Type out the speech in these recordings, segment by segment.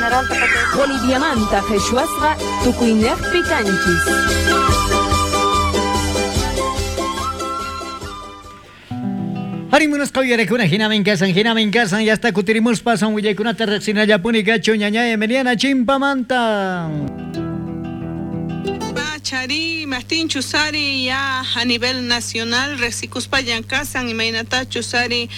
Boliviamanta qhichwasqa tukuynejpi kanchis. Arí, munasqa uyarekuna, hinamin kasan, hinamin kasan, ya está kutirimuspa son willaykunata riqsinallapuni kachu ñañay Emiliana Chimpamanta. Chari, Martín Chusari, ya a nivel nacional, riqsikuspaña kasan, imaynatachus ari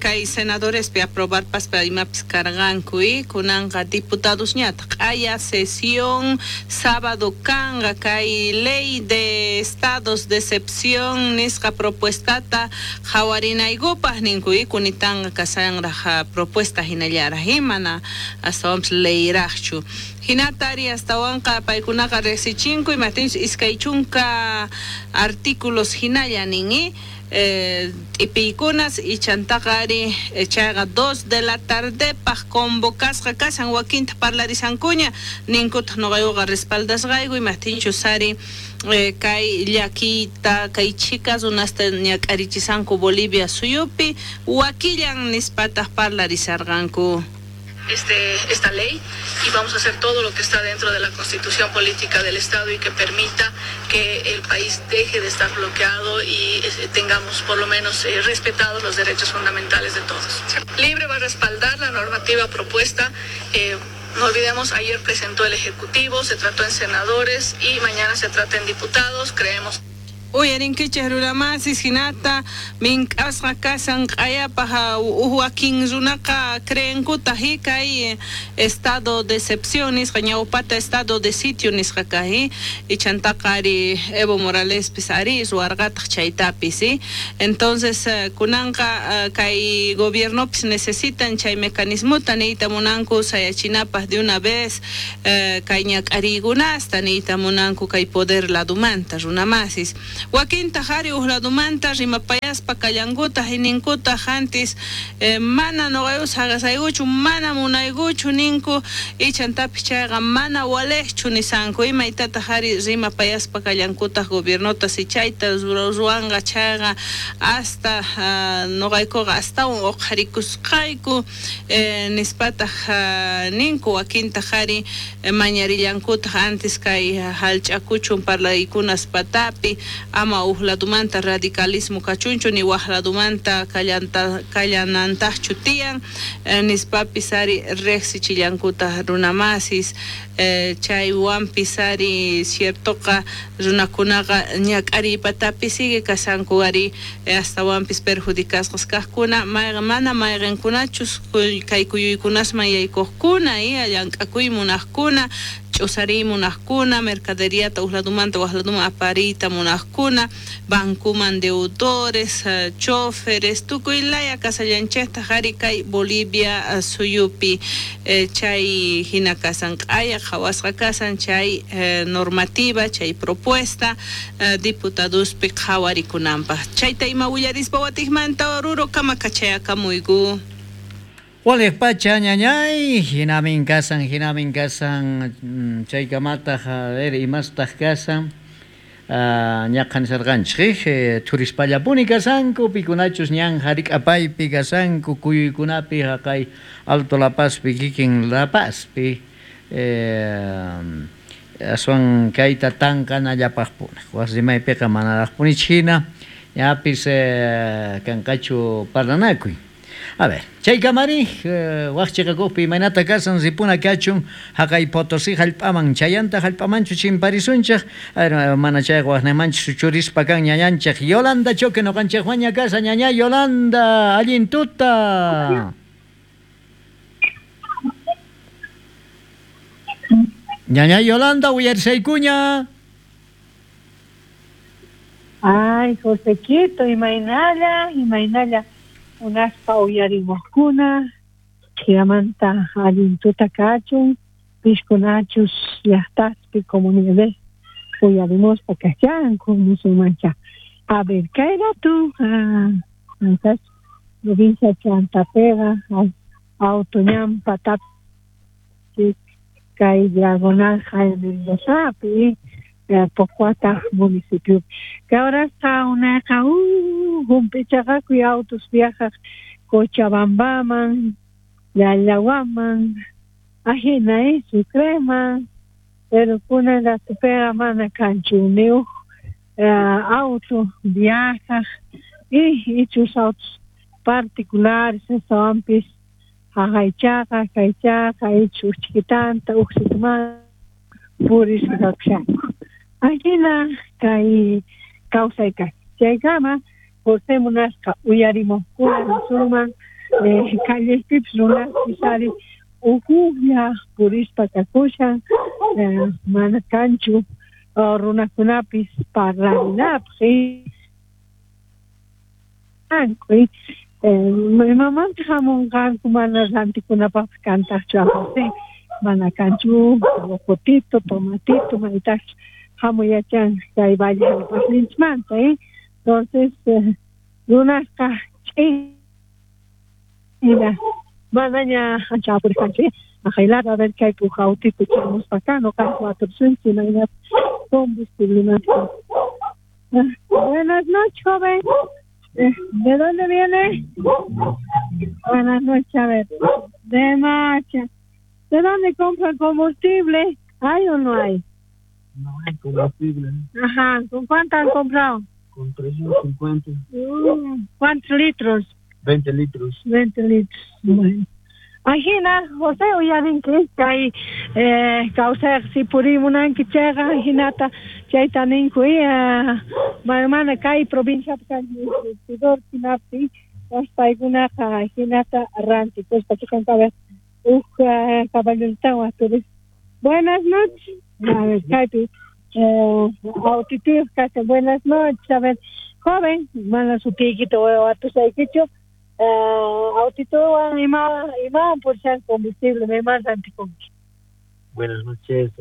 kay senadorespi aprobar paspa imapis karqanku y kunanqa diputadosñataq q'aya sesión sábado kanqa kay ley de estados de excepción nisqa propuestata qhawarinaykupaq ninku y kunitanqa kasanraq propuesta hinallaraq y mana astawanpis leyraqchu. Hinata ari astawanqa paykunaqa riqsichinku imaptinchus 20 artículos hinalla nin t'ipiykunas ichantaqa ari chayqa 2 de la tardepaq convocasqa kashan wakinta parlarisankuña ninkutaq nuqaykuqa respaldasqayku imaptinchus ari kay llakiyta kay chhika runasta ñak'arichisanku Bolivia suyupi wakillan nispataq parlarisarqanku. Esta ley y vamos a hacer todo lo que está dentro de la Constitución Política del Estado y que permita que el país deje de estar bloqueado y tengamos por lo menos respetados los derechos fundamentales de todos. Libre va a respaldar la normativa propuesta. No olvidemos, ayer presentó el Ejecutivo, se trató en senadores y mañana se trata en diputados, creemos. Uyarinkichej runamasis hinata mink'asqa kasan q'ayapaj wakin runaqa creenkutaq kay estado de excepción nisqa ñawpata estado de sitio nisqa kaj ichantaqa ari Evo Moralespis ari ruwarqataq chaytapis. Entonces kunanqa kay gobiernopis necesitan chay mecanismota niyta munanku sayachinapaj de una vez kay ñak'ariykunasta niyta munanku kay poder ladumanta runamasis. Wakintaq ari uj ladumanta rimapayaspa kallankutaq ninkutaq antis mana nuqayku saqasaykuchu mana munaykuchu ninku ichantapis chayqa mana waliqchu nisanku imaytataq ari rimapayaspa kallankutaq gobiernota si chayta ruwanqa chayqa hasta nuqaykuqa astawan uqharikusqayku nispataq ninku wakintaq ari mañarillankutaq antes kay hallch'akuchun parlaykunas patapi ama uj ladumanta radicalismo kachunchu ni waj ladumanta kallanantaqchu tiyan nispapis ari riqsichillankutaq runamasis chaywanpis ari ciertoqa runakunaqa ñak'ariypatapi sigue kasanku ari astawanpis perjudicasqas kaqkuna mana mayqinkunachus kay kuyuykunasman yaykuqkuna llank'akuy munaqkuna ch'usariy munaqkuna mercaderiata uj ladumanta waj laduman apariyta munaqkuna bancuman deudores choferes tukuy laya kasallanchejtaq ari kay Bolivia suyupi chay hina kasan q'aya qhawasqa kasan chay normativa chay propuesta diputadospi qhawarikunanpaq chayta ima willarispa watiqmanta Oruro kama kachayakamuyku. Waliq pacha ñañay, hinamin kasan, chaykamataq a ver imastaq kasan ñaqan nisarqanchik thurispallapuni kasanku pikunachus ñan harik'apaypi kasanku kuyuykunapi haqay Alto La Pazpi kikin La Pazpi aswan kayta tanqanallapaqpuni wasi rimaypiqa manaraqpunichu hina ñapis kanqachu parlanakuy. A ver, chaykamari waqchiqakuqpi imaynata kasan ripuna kachun haqay Potosí hallp'aman chayanta hallp'amanchu chimparisunchik mana chayqa waqnaymanchu churispa kan ñañanchik Yolanda Choque nuqanchikwaña kasa ñaña Yolanda allin tuta. Ñaña Yolanda uyarisaykuña. Ay, Josequito, imaynalla, imaynalla. Unaspa uyarimuqkuna chayamanta allin tuta kachun pishkunachus llaqtaspi comunidades uyarimuspa kachanku musulmancha. A ver, kay ratu antas provincia Chantapega auto ñan patapi kay diagonal Jaime Mendozapi Pocuata municipio. Que ahora está una humpichaqakuy autos viajaq Cochabambaman, Llallawaman, Ajina, Sucreman, pero kunan ratupiqa mana kanchu ni uj auto viajaj y ichus autos particulares astawanpis jaqaychaqa kaychaqa ichu uj chiquitanta uj sitiman purisqa kakushanku. Ajina kay kawsay kay. Chaykama José munasqa uyarimuqkuna nisunman callespipis runaspis ari ujujlla purispa kakushan mana kanchu runakunapis parlarinapaq imamanta hamunqanku mana rantikunapaqpis kantaqchu a José mana kanchu rocotito, tomatito, maytaqchu hamuyachan kay valle jallp'asninchikmanta, entonces runasqa ch'in manaña ancha apurisqanchu aqaylata a ver kaypi uj autito chamuspa kan noqanchik watursunchik imaynata combustiblemanta. Buenas noches, joven. ¿De dónde viene? Buenas noches, a ver. De Macha. ¿De dónde compran combustible? ¿Hay o no hay? No hay combustible. Ajá, ¿con cuánto han comprado? Con 350. ¿Cuántos litros? 20 litros. 20 litros. Bueno. Ajina, José, uyarinki kay kawsayqa si purimunanki chayqa ajinata chayta ninku mana kay provinciapi kanchu surtidor hinapi paykunaqa ajinata rantikuspa chiqanka uj caballotawan waturis. Buenas noches. A ver, kaypi autituyuq kashan. Buenas noches. A ver, joven, mana sutiykita watusaykichu. Autituwan imawan purishan combustible, mayman rantikunki. Buenas noches.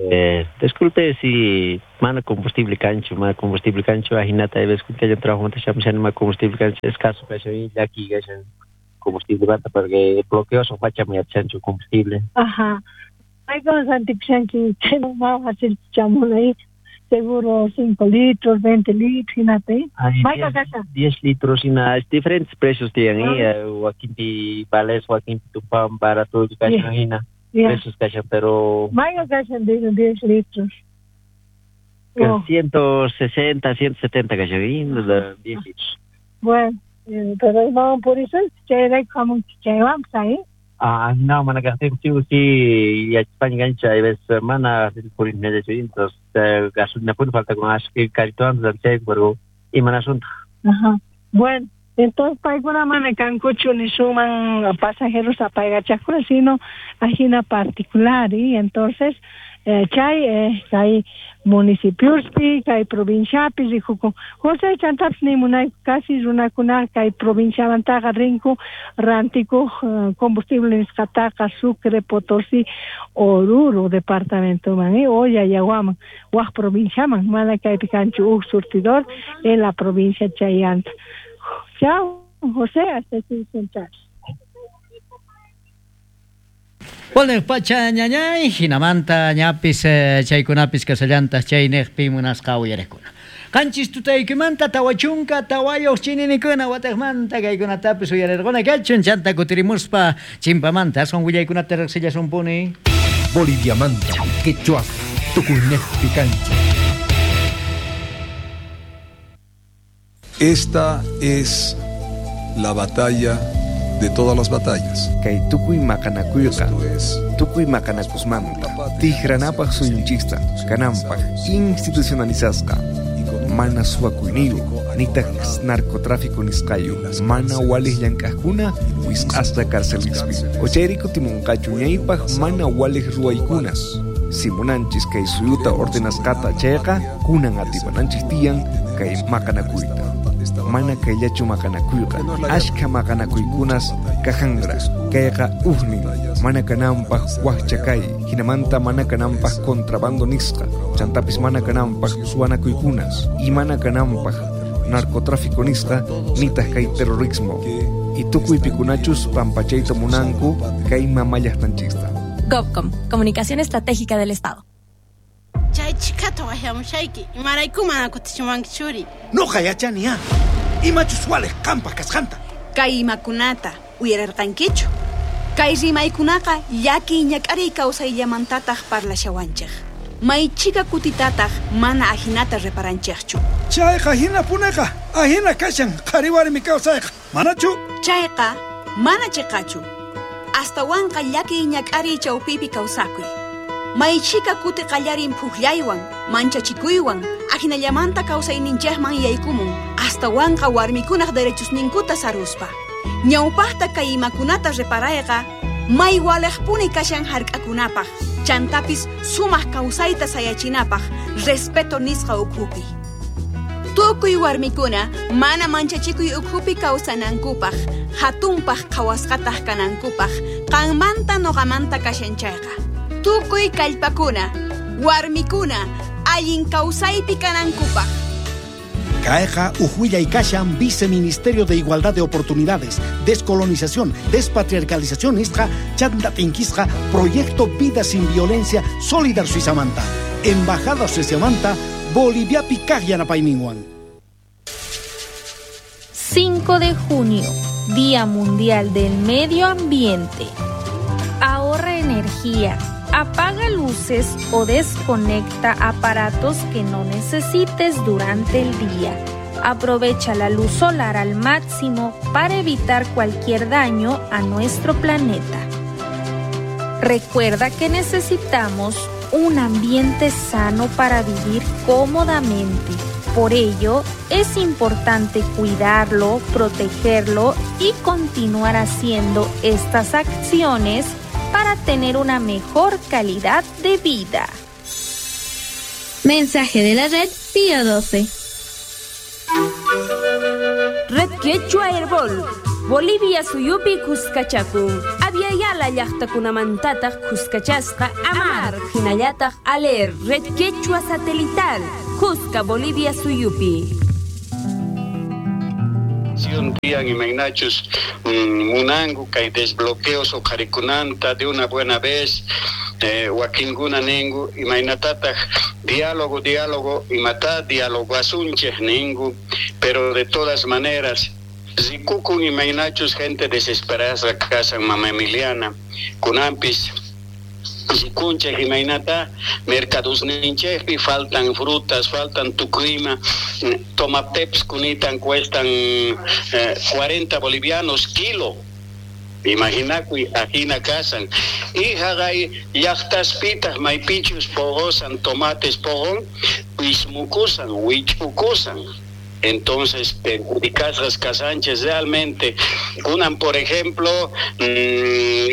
Disculpe si mana combustible cancho, ajinata disculpe yo trabajo manta mana combustible cancho, escaso kashan llaki kashan combustible bata porque bloqueo son facha chancho combustible. Ajá. Maykan rantikushanki chayman más fácil chamunay. Seguro 5 litros, 20 litros, hinata. 10 litros, y nada, diferentes precios tienen, wakinpi vales, wakinpi tupan, barato, kashan, hina, precios kashan, pero... Mayqa kashan 10 litros. Oh. 160, 170 kashan, 10 litros. Bueno, pero imawan purisun, chayrayku hamunki chaywanpas, ¿eh? Ah, no, mana kaqtinchu sí, yachaspaña kancha, hay veces mana purinllachu, entonces gasolina pun falta con ashki caritoan chayku, pero imanasunta. Ajá. Bueno, entonces paykuna mana kankuchu nisunman pasajeros apaykachaqkuna, sino ajina particular, y entonces chay kay municipiospi, kay provinciapi rikukun. José chantapis nimunayku casi runakuna kay provinciamantaqa rinku rantikuq combustible nisqataqa Sucre, Potosí, Oruro departamentoman, o Yayaguaman, waj provinciaman, mana kaypi kanchu uj surtidor en la provincia chayanta. Chao, José, hasta el. Walnej pacha ñañay, hinamanta ñapis chaykunapis kasallantas chaynejpi munasqa uyarekuna. Qanchis tutaykimanta tawachunka tawayuq chininikuna wataqmanta kaykunatapis uyarirquna kachun chanta kutirimuspa chimpamanta aswan willaykunata riqsillasunpuni. Boliviamanta, quechua, tukuynejpi kancha. Esta es la batalla de todas las batallas. Kay tukuy maqanakuyqa, tukuy maqanakusmanta, tijranapaq suyunchista, kananpaq institucionalizasqa, mana suwakuyniyuq, nitaq narcotráfico nisqayu, mana waliq llank'aqkuna wisq'asqa carcelispi. Ochayri kutimunqachu ñaypaq mana waliq ruwaykunas. Si munanchis kay suyuta ordenasqata chayqa, kunan atipananchis tiyan kay maqanakuyta. Mana kayllachu maqanakuyqa, ashka maqanakuykunas kajanra, kayqa ujnin, mana kananpaq wajcha kay, hinamanta mana kananpaq contrabando nisqa, chantapis mana kananpaq suwanakuykunas, y mana kananpaq narcotráfico nisqa, nitaq kay terrorismo. Y tukuy pikunachus pampachayta munanku kay mamallaqtanchista. GovCom, Comunicación Estratégica del Estado. Chay chikata waqyamushayki, imarayku mana kutichiwanki churi. Nuqa yachani imachus waliq qampaq kasqanta. Kay imakunata uyararqankichu. Kay rimaykunaqa llakiy ñak'ariy kawsayllamantataq parlashawanchik. Maychika kutitataq mana ajinata reparanchikchu. Chayqa hinapuneqa, ahina kashan qhari warmi kawsayqa, manachu? Chayqa mana chiqachu. Astawanqa llakiy ñak'ariy chawpipi kawsakuy. Maychika kuti qallarin phuqllaywan, manchachikuywan, ajinallamanta kawsayninchikman yaykumun, astawanqa warmikunaq derechosninkuta saruspa. Ñawpaqta kay imakunata reparayqa, may waliqpuni kashan hark'akunapaq, chantapis sumaq kawsayta sayachinapaq, respeto nisqa ukhupi. Tukuy warmikuna mana manchachikuy ukhupi kawsanankupaq, hatunpaq qhawasqataq kanankupaq, qanmanta nuqamanta kashan chayqa. Tukuy kallpakuna, warmikuna, allin kawsaypi kanankupaq. Kayqa uj kashan Viceministerio de Igualdad de Oportunidades, Descolonización, Despatriarcalización nisqa chanta tinkisqa Proyecto Vida sin Violencia Solidar Suizamanta, Embajada Sueziamanta, Boliviapi kaq yanapayninwan. 5 de junio, Día Mundial del Medio Ambiente. Ahorra energía, apaga luces o desconecta aparatos que no necesites durante el día. Aprovecha la luz solar al máximo para evitar cualquier daño a nuestro planeta. Recuerda que necesitamos un ambiente sano para vivir cómodamente. Por ello, es importante cuidarlo, protegerlo y continuar haciendo estas acciones para tener una mejor calidad de vida. Mensaje de la red Pío 12. Red Quechua Herbol. Bolivia suyupi kuskachakun. Aviala llaqtakunamantataq kuskachasqa Amar, hinallataq Aler, Red Quechua Satelital, Cusca, Bolivia suyupi. Tian imaynachus munangu kay desbloqueos uqharikunanta de una buena vez, wakinkuna ningu imaynatataq diálogo diálogo imata diálogo asunchej ningu, pero de todas maneras rikukun imaynachus gente desesperada kasan mama Emiliana kunampis rikunchej imaynata mercadosninchejpi faltan frutas, faltan tukuima, tomateps kunitan cuestan 40 bolivianos kilo. Imaginakuy ajina kasan. Y jagay llaqtaspitaq maypichus pogosan tomates pogon, wismukusan, wich'ukusan. Entonces, perjudicasqas kasanchis realmente. Kunan, por ejemplo,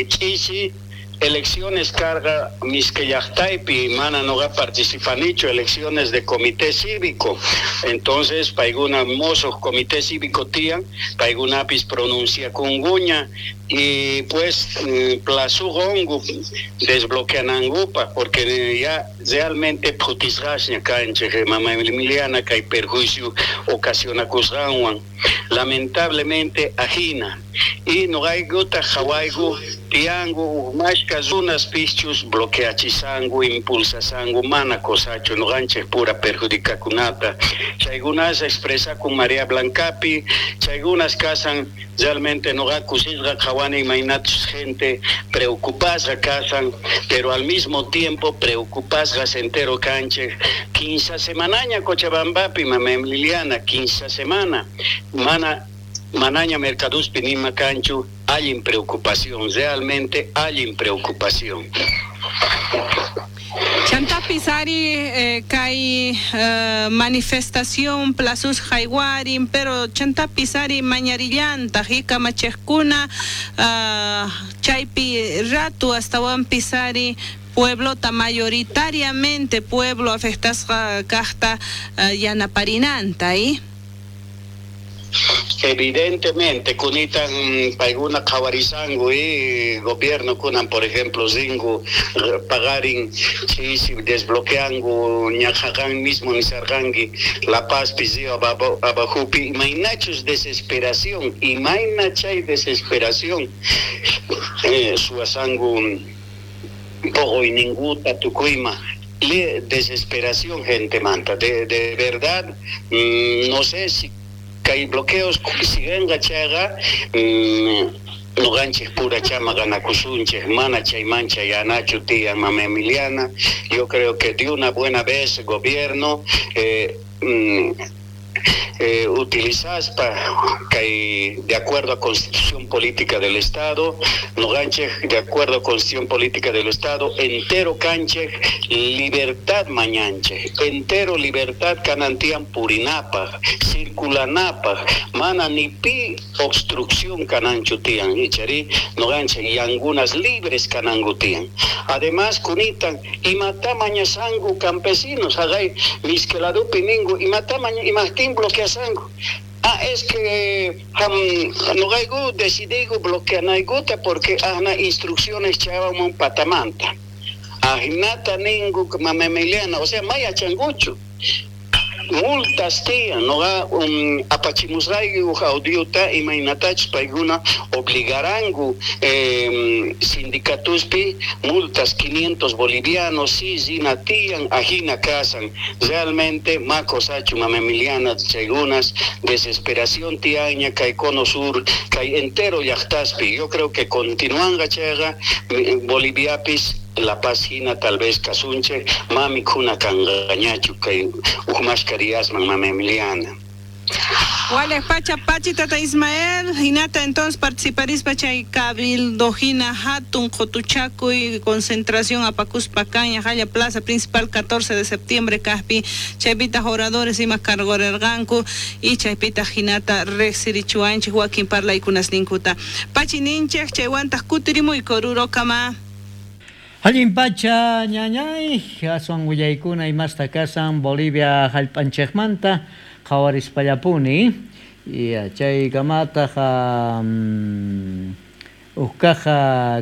chisi elecciones carga miskellaqtaypi mana noqa participanichu elecciones de comité cívico. Entonces paykuna mosuq comité cívico tiyan, paykunapis pronunciakunkuña y pues plasuqonku desbloqueanankupaq porque ya realmente phutisqasña kanchik mama Emiliana kay perjuicio ocasionakusqanwan lamentablemente ajina y noqaykuta qhawayku tiyanku mashka runas pischus bloqueachisanku impulsasanku mana cosachu noqanchik pura perjudicakunata chaykunas expresakun María Blancapi chaykunas kasan realmente noqa kusisqa qhawani imaynachus gente preocupasqa kasan pero al mismo tiempo preocupasqas entero kanchik 15 semanaña Cochabambapi mama Emiliana 15 semana mana manaña mercaduspi nima kanchu allin preocupación, realmente allin preocupación. Chantapis ari kay manifestación plazos jaywarin, pero chantapis ari mañarillantaq y kamachejkuna chaypi ratu astawanpis ari pueblota mayoritariamente pueblo afectasqa kaqta yanaparinanta y Evidentemente, kunitan paykuna qhawarisanku y gobierno kunan, por ejemplo, rinku pagarin chisi desbloqueanku ñaqhaqan mismo nisarqanki La Paz río abajupi imaynachus desesperación, imayna chay desesperación suwasanku poqoyninkuta tukuyma. Desesperación gente manta, de verdad, no sé si hay bloqueos siguen chayqa Noqanchej pura maqanakusunchej, mana chayman chayanachu tiyan, mama Emiliana. Yo creo que de una buena vez gobierno utilizaspa kay de acuerdo a Constitución Política del Estado, noqanchej de acuerdo a Constitución Política del Estado, entero kanchej libertad mañanchej, entero libertad kanantian purinapaj, circulanapaj, mana ni pi obstrucción kananchu tiyan, ichari noqanchej yangunas libres kanangu tiyan. Además kunitan imata mañasangu campesinos, hagay miskeladupi ningu imata maña imajtin bloqueasangu. Ah, es que noqayku decidiyku bloqueanaykuta porque ahna instrucciones chayamun patamanta. Ajinata ningu mama Emiliana, o sea, maya changuchu. Multas tiyan, noqa apachimusqayku uj audiota imaynatachus paykuna obligaranku sindicatuspi multas 500 bolivianos, si rina tiyan, ajina kasan. Realmente ma kosachu mama Emiliana chaykunas desesperación tiyaña kay cono sur, kay entero llaqtaspi. Yo creo que continuanga chayqa Boliviapis La Paz hina tal vez kasunchej, mami kuna kanqañachu kay uj mashka diasman mama Emiliana. Wale pacha pachi tata Ismael, hinata entonces participarispa chay cabildo hina hatun qotuchakuy concentración apakuspa caña jaya plaza principal 14 de septiembre kajpi chaypita oradores ima cargorerqanku y chaypita hinata rejsirichuanchik wakin parlaykunas ninkuta. Pachi ninchej chaywantaq kutirimuyku rurokama. Allin pacha ñañay, aswan willaykuna imasta kasan Bolivia jallp'anchejmanta qhawarispallapuni. Y chaykamataq uj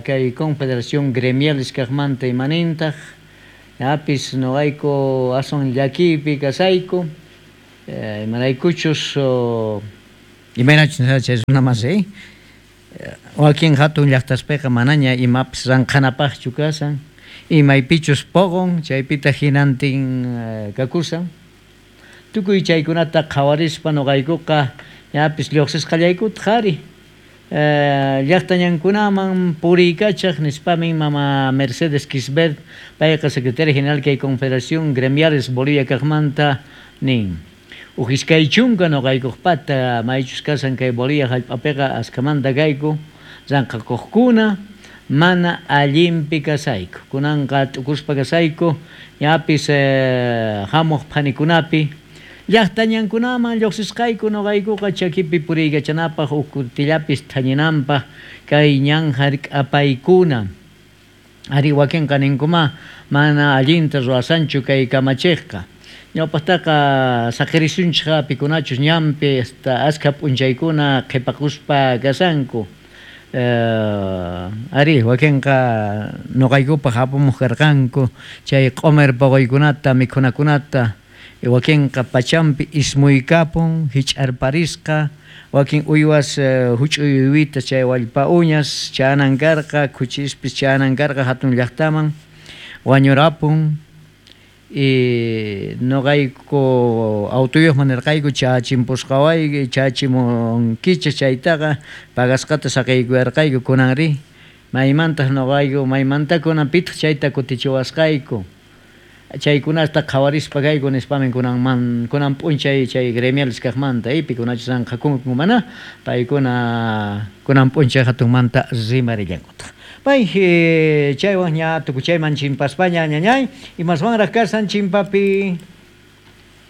kay Confederación Gremial kajmanta imanintaq ñapis noqayku aswan llakiypi kasayku imaraykuchus imaynachus chay runa masi wakin hatun llaqtaspiqa manaña imapis ranqhanapaqchu kasan imaypichus poqon chaypita hinantin kakusan tukuy chaykunata qhawarispa noqaykuqa ñapis lluqsisqallaykutaq ari llaqtañankunaman puriykachaq nispamin mama Mercedes Quisbert payqa secretaria general kay Confederación Gremiales Bolivia kaqmanta nin. Uj iskay chunka noqaykuqpata maychus kasan kay Bolivia jallp'apiqa askamanta kayku ranqakuqkuna mana allinpi kasayku kunanqa t'ukuspa kasayku ñapis hamuq phanikunapi llaqtañankunaman lluqsisqayku noqaykuqa chakipi puriykachanapaq uj kutillapis thañinanpaq kay ñan hark'apaykuna ari wakinqa ninkuma mana allinta ruwasanchu kay kamachiqqa ñawpaqtaqa saqirisunchik pikunachus ñanpi hasta askha p'unchaykuna qhipakuspa kasanku ari wakinqa noqaykupaq apumuq karqanku chay q'umir puquykunata mikhunakunata wakinqa pachampi ismuykapun hich'arparisqa wakin uywas huch'uy uywita chay wallpa uñas chanan karqa khuchispis chanan karqa hatun llaqtaman wañurapun y noqayku autoyuqman nirqayku chachimpusqawayki chachimunkichik chaytaqa pagasqata saqaykuyarqayku kunanri maymantaq noqayku maymanta kunan pitaq chayta kutichiwasqayku chaykunasta qhawarispa kayku nispamin kunanman kunan p'unchay chay gremiales kaqmanta pikunachus ranqakunku mana paykuna kunan p'unchay hatunmanta rimarillankutaq. Pay chaywan ña tukuchayman chimpaspaña ñañay imaswanraq kasan chimpapi.